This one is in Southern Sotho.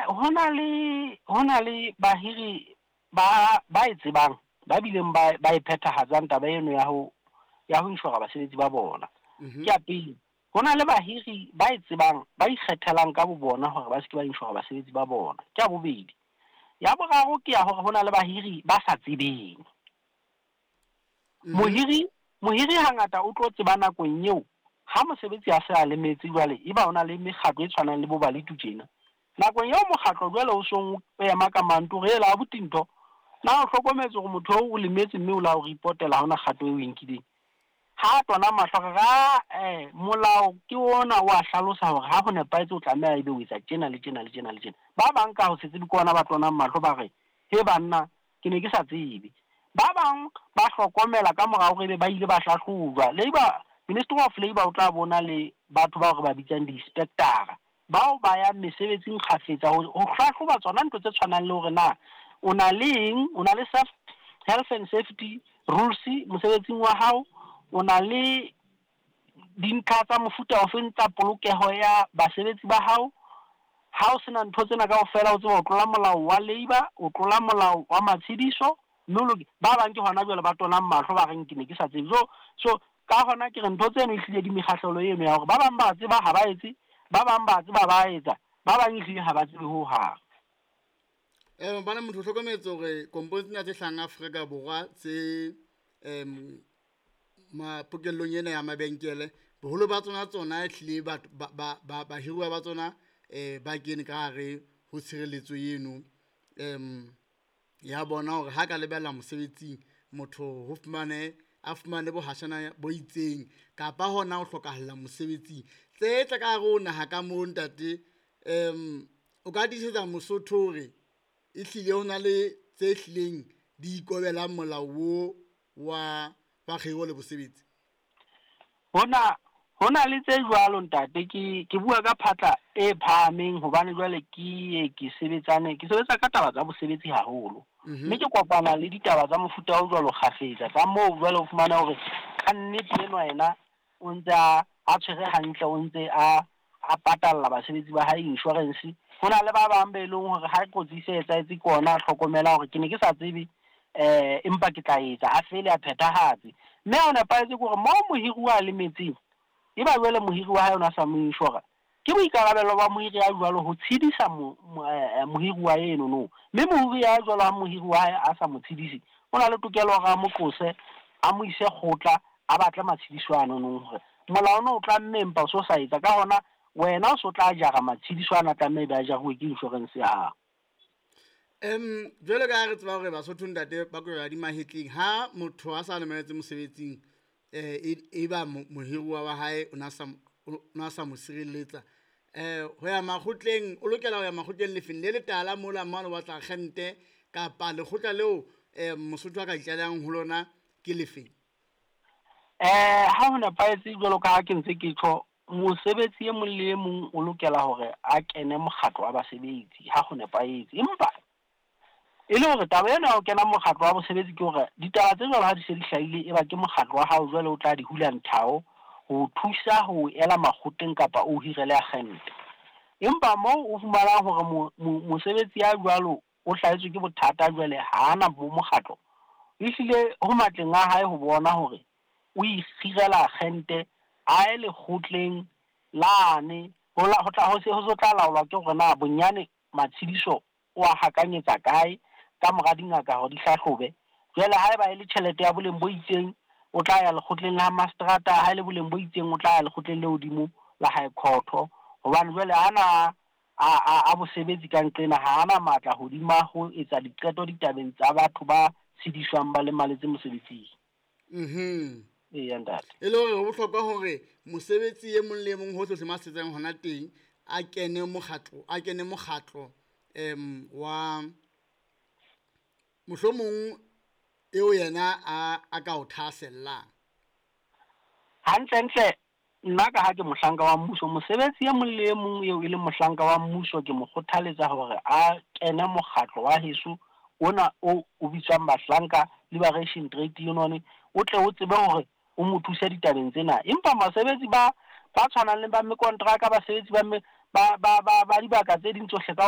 Ho na le bahiri ba e tsebang, ba bileng ba e phethahatsang taba eno ya ho inshora basebetsi ba bona. Ke ya pele. Ho na le bahiri ba e tsebang, ba ikgethelang ka bo bona hore ba se ke ba inshora basebetsi ba bona. Ke ya bobedi. Ya boraro ke ya hore ho na le bahiri ba sa tsebeng. Mohiri hangata o tlo tseba nakong eo ha mosebetsi a se a lemetse. Jwale eba o na le mekgatlo e tshwanang le bo Baletu tjena, nakong eo mokgatlo jwale o song o ema ka manto hore ela abuti, ntho na o hlokometse hore motho oo o lemetse, mme o la o reportela, ha hona kgato eo o e nkileng. Ha tona mahlo re ra molao ke ona o a hlalosa hore ha ho nepahetse o tlameha ebe o etsa tjena le tjena le tjena le tjena. Ba bang ka ho se tsebe ke ona ba tonang mahlo, ba re, "He banna, ke ne ke sa tsebe." Ba bang ba hlokomela ka mora hore ebe ba ile ba hlahlojwa. Labour Ministry of Labour o tla bona le batho bao re ba bitsang di-inspectora, bao ba yang mesebetsing kgafetsa ho hlahloba tsona ntho tse tshwanang le hore na o na le eng, o na le self health and safety rules mosebetsing wa hao, o na le dintlha tsa mofuta ofeng tsa polokeho ya basebetsi ba hao. Ha o sena ntho tsena kaofela, o tseba o tlola molao wa labour, o tlola molao wa matshediso, mme o loke. Ba bang ke hona jwale ba tonang mahlo, ba reng, "Ke ne ke sa tsebe." So ka hona ke re ntho tseno ehlile di mekgahlelo eno ya hore ba bang ba tseba, ha ba etse, ba bang ba tseba, ba etsa, ba bang ehlile ha ba tsebe ho hang. Bana motho o hlokometse hore kompone tsena tse hlahang Afrika Borwa tse mapokellong ena ya mabenkele, boholo ba tsona ehlile batho ba bahiruwa ba tsona ba kene ka hare ho tshireletso eno ya bona, hore ha ka lebella mosebetsing motho ho fumane a fumane bohashana bo itseng kapa hona ho hlokahalla mosebetsing tse tla ka hare ho naha ka moo. Ntate, o ka tiisetsa Mosotho hore ehlile ho na le tse hlileng di ikobelang molao wo wa kgiro le bosebetsi? Hona le tse jwalo, ntate. Ke bua ka phatla e phahameng hobane jwale ke ye ke sebetsane, ke sebetsa ka taba tsa bosebetsi haholo, mme ke kopana le ditaba tsa mofuta o jwalo kgafetsa, tsa moo jwale o fumana hore ka nnete enwa yena o ntse a tshwere hantle, o ntse a patalla basebetsi ba hae insurance. Ho na le ba bang be leng hore ha kotsi e se etsahetse ke ona a hlokomela hore ke ne ke sa tsebe, empa ke tla etsa, a fele a phethahatse. Mme ha o nepahetse ke hore moo mohiruwa a lemetseng, eba jwale mohiri wa hae o na sa mo inshora, ke boikarabelo ba mohiri ya jwalo ho tshedisa mohiruwa eno no. Mme mohiri ya jwalo, ha mohiri wa hae a sa mo tshedise, o na le tokelo hore a mo qose, a mo ise kgotla, a batle matshediso ano nong hore molao ono o tlamme, empa o so sa etsa. Ka hona wena o so tla jara matshediso ana tlameha ebe a jaruwe ke insurance ya hao. Jwalo ka ha re tseba hore Basotho, ntate, ba kwela di mahetleng ha motho a sa lemeletse mosebetsing, e ba mohiruwa wa hae o na sa mo sireletsa, ho ya makgotleng, o lokela ho ya makgotleng lefeng le letala mola mane o batla agente kapa lekgotla leo Mosotho a ka itlalehang ho lona ke lefeng? Ha ho nepahetse, jwalo ka ha ke ntse ke tjho, mosebetsi e mong le e mong o lokela hore a kene mokgatlo wa basebetsi ha ho nepahetse. Empa e le hore taba ena ya ho kena mokgatlo wa bosebetsi ke hore ditaba tse jwalo ha di se di hlahile, e ba ke mokgatlo wa hao jwale o tla di hula nthao ho thusa ho ela makgotleng kapa o hirele agente. Empa moo o fumanang hore mosebetsi ya jwalo o hlahetswe ke bothata, jwale ha ana bo mokgatlo, ehlile ho matleng a hae ho bona hore o ikgirela agente, a ye lekgotleng lane ho tla ho se ho tla laolwa ke hore na bonyane matshediso o a hakanyetsa kae ka mora dingaka hore di hlahlobe. Jwale haeba e le tjhelete ya boleng bo itseng, o tla ya lekgotleng la mastrata, ha e le boleng bo itseng, o tla ya lekgotleng le hodimo la high court, hobane jwale ana a bosebetsi ka nqena ha ana matla hodima ho etsa diqeto ditabeng tsa batho ba tshediswang ba lemaletse mosebetsing. Eya, ntate. E le hore ho bohlokwa hore mosebetsi e mong le e mong hohle mo a setsang hona teng a kene mokgatlo wa mohlomong eo yena a ka o thahasellang. Hantle ntle, nna ka ha ke mohlanka wa mmuso, mosebetsi e mong le e mong eo e leng mohlanka wa mmuso, ke mo kgothaletsa hore a kene mokgatlo wa heso ona o bitswang Bahlanka Liberation Trade Union, o tle o tsebe hore o mo thuse ditabeng tsena. Empa basebetsi ba tshwanang le ba mekontraka, basebetsi ba ba dibaka tse ding tsohle.